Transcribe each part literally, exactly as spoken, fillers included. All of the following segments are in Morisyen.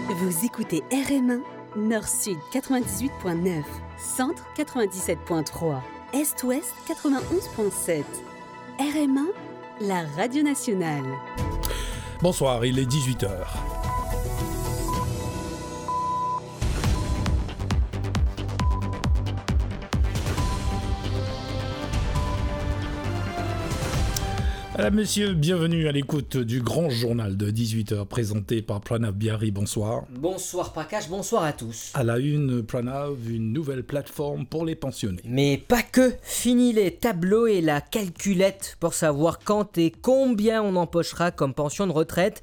Vous écoutez R M un, Nord-Sud quatre-vingt-dix-huit point neuf, Centre quatre-vingt-dix-sept point trois, Est-Ouest quatre-vingt-onze point sept. R M un, la radio nationale. Bonsoir, il est dix-huit heures. Madame, Monsieur, bienvenue à l'écoute du grand journal de dix-huit heures présenté par Pranav Biari. Bonsoir. Bonsoir Prakash, bonsoir à tous. À la une, Pranav, une nouvelle plateforme pour les pensionnés. Mais pas que. Fini les tableaux et la calculette pour savoir quand et combien on empochera comme pension de retraite.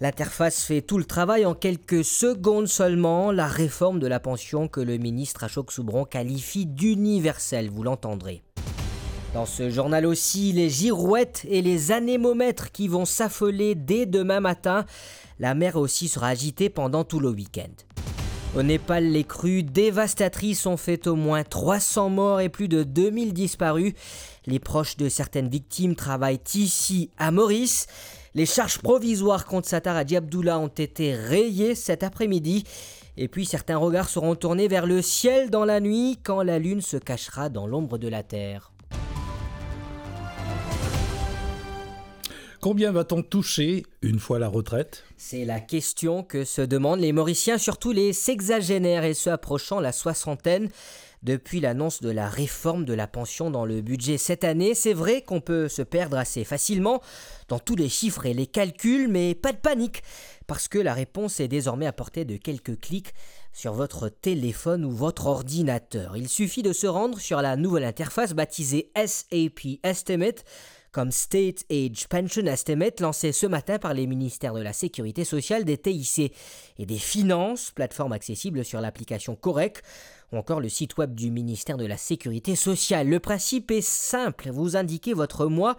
L'interface fait tout le travail en quelques secondes seulement, la réforme de la pension que le ministre Ashok Soubron qualifie d'universelle, vous l'entendrez. Dans ce journal aussi, les girouettes et les anémomètres qui vont s'affoler dès demain matin. La mer aussi sera agitée pendant tout le week-end. Au Népal, les crues dévastatrices ont fait au moins trois cents morts et plus de deux mille disparus. Les proches de certaines victimes travaillent ici, à Maurice. Les charges provisoires contre Sattar Haji Abdullah ont été rayées cet après-midi. Et puis, certains regards seront tournés vers le ciel dans la nuit, quand la lune se cachera dans l'ombre de la Terre. Combien va-t-on toucher une fois la retraite ? C'est la question que se demandent les Mauriciens, surtout les sexagénaires et ceux approchant la soixantaine. Depuis l'annonce de la réforme de la pension dans le budget cette année, c'est vrai qu'on peut se perdre assez facilement dans tous les chiffres et les calculs, mais pas de panique, parce que la réponse est désormais à portée de quelques clics sur votre téléphone ou votre ordinateur. Il suffit de se rendre sur la nouvelle interface baptisée S A P Estimate, comme State Age Pension Estimate, lancée ce matin par les ministères de la Sécurité sociale, des T I C et des Finances, plateforme accessible sur l'application Correc, ou encore le site web du ministère de la Sécurité sociale. Le principe est simple, vous indiquez votre mois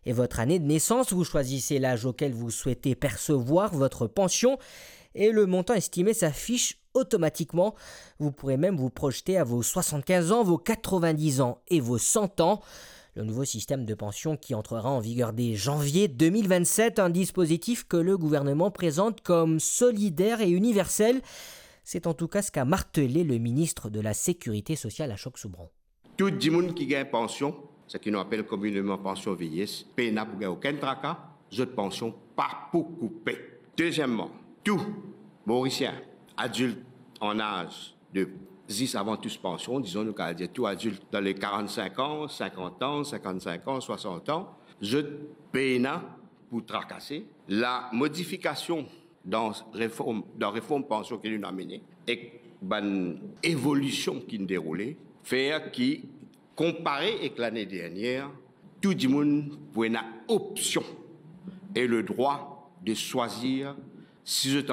et votre année de naissance, vous choisissez l'âge auquel vous souhaitez percevoir votre pension et le montant estimé s'affiche automatiquement. Vous pourrez même vous projeter à vos soixante-quinze ans, vos quatre-vingt-dix ans et vos cent ans. Le nouveau système de pension qui entrera en vigueur dès janvier deux mille vingt-sept, un dispositif que le gouvernement présente comme solidaire et universel. C'est en tout cas ce qu'a martelé le ministre de la Sécurité sociale, Ashok Soubron. Tou dimoun ki gagn pansion, seki nou apel komineman pansion vieyes, pena pou gagn okenn traka, zot pansion pa pou koupe. Dezieman, tou Morisien adilt an az de zis avan tous pansion, dizon nou kapav dir tou adilt dan le karant-sink an, sinkant an, sinkant-sink an, swasant an, zot pena pou trakase. La modifikasion dan reform, dan reform pansion ki nou amene, ek bann evolision ki deroule, fer ki, konpare ek lane dernier, tou dimoun pou ena opsion e le drwa de swazir si zot